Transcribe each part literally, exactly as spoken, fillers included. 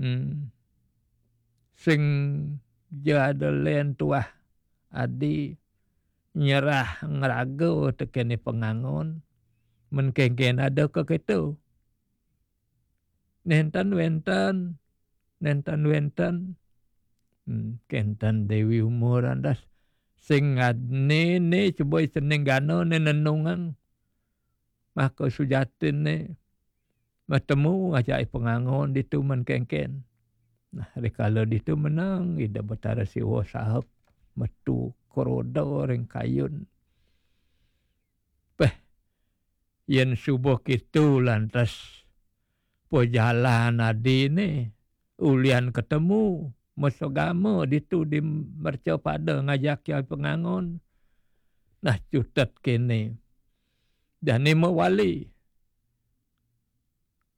Hmm. Sing ja ada len tuah adi nyerah ngraga tekene pengangon, men kengken ada ke keto. Nenten wenten, nenten wenten. Hmm, kenten Dewi Uma randas sing ngadne ne coba seneng gana ne nenungang. Maka sujatin ne matemu ngajak pengangon ditu men kengken. Nah, rikala ditu menang Ida Betara Siwa sahep metu keroda ring kayun. Peh, yen subuh kitu lantas pejalan adine ulian ketemu mesegama ditu di mercapada ngajak ya pengangon. Nah, cutet kene. Jani mewali.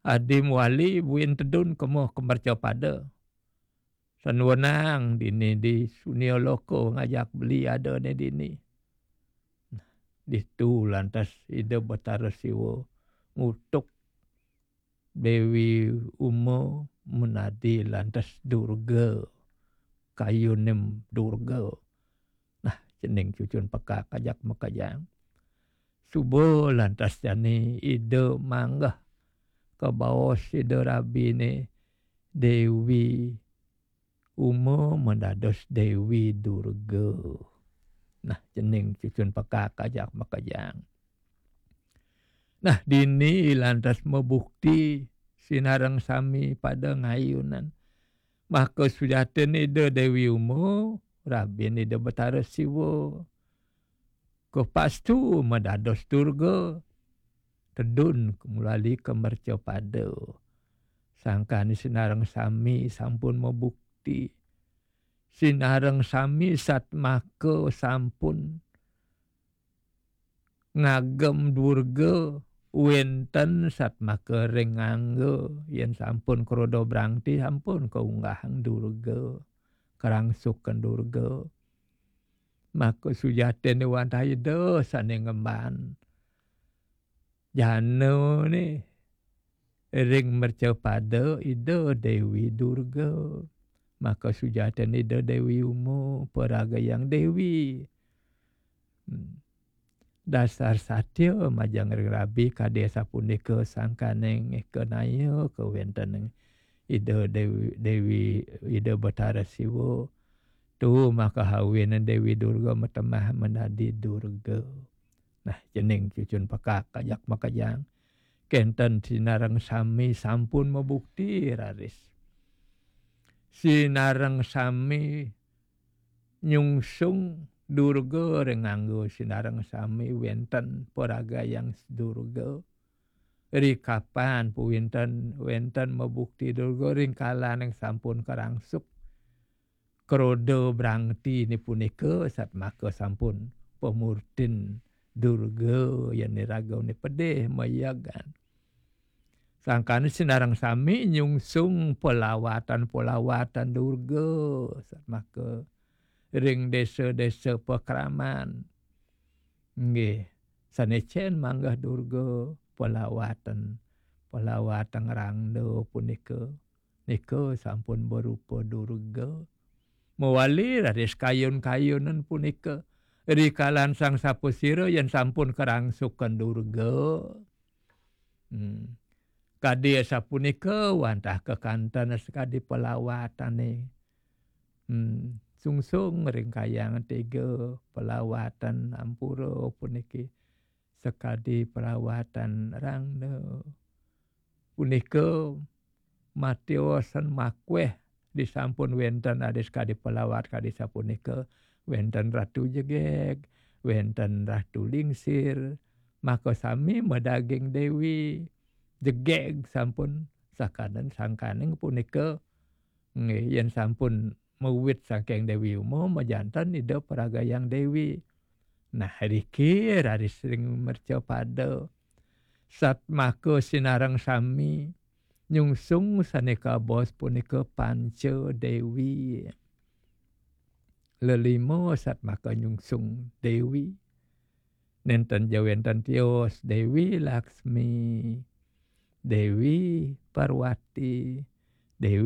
Adi mewali buin tedun kemo ke mercapada. Sanwenang dini di sunia loko ngajak beli ada ne dini. Nah, ditu lantas Ida Betara Siwa ngutuk Dewi Uma menadi lantas Durga. Kayunem Durga. Nah, cening cucun pekak ajak makejang. Suba lantas jani Ida manggeh ke baos Ida Rabine Dewi Uma mendados Dewi Durga. Nah, cening cucun pekak ajak makejang. Nah, dini lantas mebukti sinareng sami pada ngayunan. Maka sujatin Ida Dewi Uma, rabin Ida Betara Siwa. Kepastu medados Durga, tedun kemulali ke mercapada. Sangkane sinareng sami sampun mebukti. Sinareng sami satmaka sampun ngagem Durga, wenten satmaka ring angga, yen sampun kroda brangti sampun kaunggahang Durga, karangsuken Durga. Maka sujatine wantah Ida sane ngemban. Janane ring mercapada Ida Dewi Durga. Maka sujatine Ida Dewi Uma, paragayang Dewi. Hmm. Dasar satya majeng ring rabi kadi sapunika sangkaning eka naya kawenten Ida Dewi, Dewi Ida Betara Siwa. Tu maka hawin Dewi Durga matemah menadi Durga. Nah, cening cucun pekak ajak makejang. Kenten sinareng sami sampun mebukti raris. Sinareng sami nyungsung Durga ring angga, sinareng sami wenten paragayang Durga. Rikapan puwinten wenten mebukti Durga ring kalaning sampun karangsuk. Kroda brangtine punika satmaka sampun pamurtin Durga yen iragane pedih mayagan. Sangkane sinareng sami nyungsung pelawatan-pelawatan Durga satmaka ring desa-desa pakraman. Nggih, sane cen manggah Durga pelawatan, pelawatan ngrangda punika. Nika sampun berupa Durga. Mawali raris kayun-kayunan punika. Rikalan sang sapasira yen sampun karangsukan Durga. Hmm. Kadi sapunika wantah kekanten sakadi pelawatane. Hmm. Sungsung ring kayang tiga pelawatan ampura puniki sakadi pelawatan rangda. Punika matiosan makweh disampun wenten adi sakadi pelawat kadi sapunika, wenten Ratu Jegeg, wenten Ratu Lingsir, maka sami madaging Dewi Jegeg sampun sakaden sangkaning punika. Nggih, yen sampun mawit saking Dewi Uma, majanten Ida Paragayang Dewi. Nah, riki raris ring mercapada. Satmaka sinareng sami nyungsung sane kabaos punika Panca Dewi. Lelima satmaka nyungsung Dewi. Nenten ja wenten tios Dewi Laksmi, Dewi Parwati, Dewi